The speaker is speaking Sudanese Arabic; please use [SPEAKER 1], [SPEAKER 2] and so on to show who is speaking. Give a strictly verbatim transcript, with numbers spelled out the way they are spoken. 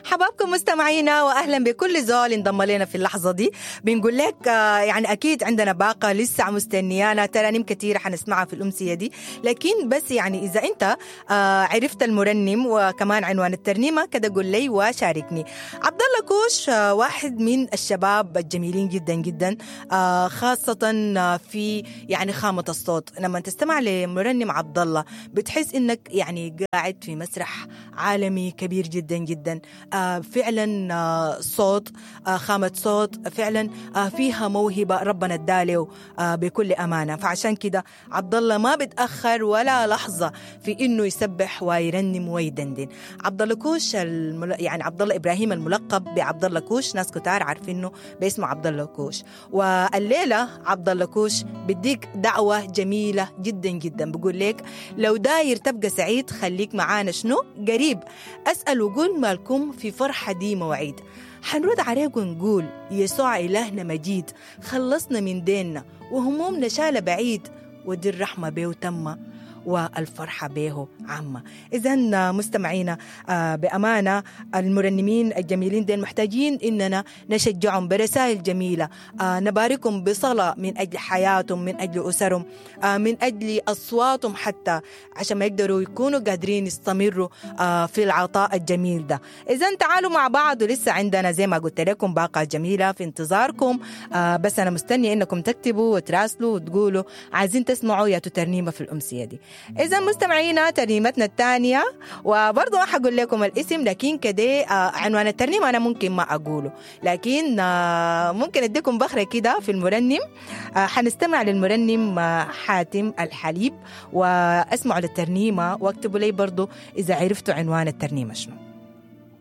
[SPEAKER 1] حبابكم مستمعينا، واهلا بكل زول انضم لنا في اللحظة دي. بنقول لك آه، يعني اكيد عندنا باقه لسه مستنيانا، ترانيم كثيرة حنسمعها في الامسيه دي، لكن بس يعني اذا انت آه، عرفت المرنم وكمان عنوان الترنيمة كده قول لي وشاركني. عبد الله كوش آه، واحد من الشباب الجميلين جدا جدا، آه، خاصة آه، في يعني خامة الصوت. لما تستمع لمرنم عبد الله بتحس انك يعني قاعد في مسرح عالمي كبير جدا جدا. آه، فعلا آه، صوت، آه، خامة صوت فعلا آه، فيها موهبة ربنا اداله آه، بكل أمانة. فعشان كده عبد الله ما بتأخر ولا لحظة في إنه يسبح ويرنم ويدندن. عبد الله كوش المل... يعني عبد الله إبراهيم الملقب بعبد الله كوش، ناس كتار عارفينه باسمه عبد الله كوش. والليلة عبد الله كوش بديك دعوة جميلة جدا جدا، بقول لك لو داير تبقى سعيد خليك معانا شنو قريب، أسأل وقول مالكم في فرحة دي مواعيد. حنرد عليك ونقول يسوع إلهنا مجيد، خلصنا من ديننا وهمومنا شال بعيد، ودي الرحمة بيه تمة والفرحة به عامة. إذا مستمعينا آه، بأمانة المرنمين الجميلين دين محتاجين إننا نشجعهم برسائل جميلة، آه، نباركهم بصلاة من أجل حياتهم، من أجل أسرهم، آه، من أجل أصواتهم حتى، عشان ما يقدروا يكونوا قادرين يستمروا آه، في العطاء الجميل ده. إذا تعالوا مع بعض، ولسه عندنا زي ما قلت لكم باقة جميلة في انتظاركم، آه، بس أنا مستنية إنكم تكتبوا وتراسلوا وتقولوا عايزين تسمعوا يا ترنيمة في الأمسية دي. إذا مستمعينا ترنيمتنا الثانية، وبرضه ما حقول لكم الاسم، لكن كده آه، عنوان الترنيمة أنا ممكن ما أقوله، لكن آه، ممكن أديكم بخرة كده في المرنم. آه، حنستمع للمرنم آه، حاتم الحليب، وأسمعوا للترنيمة واكتبوا لي برضه إذا عرفتوا عنوان الترنيمة شنو.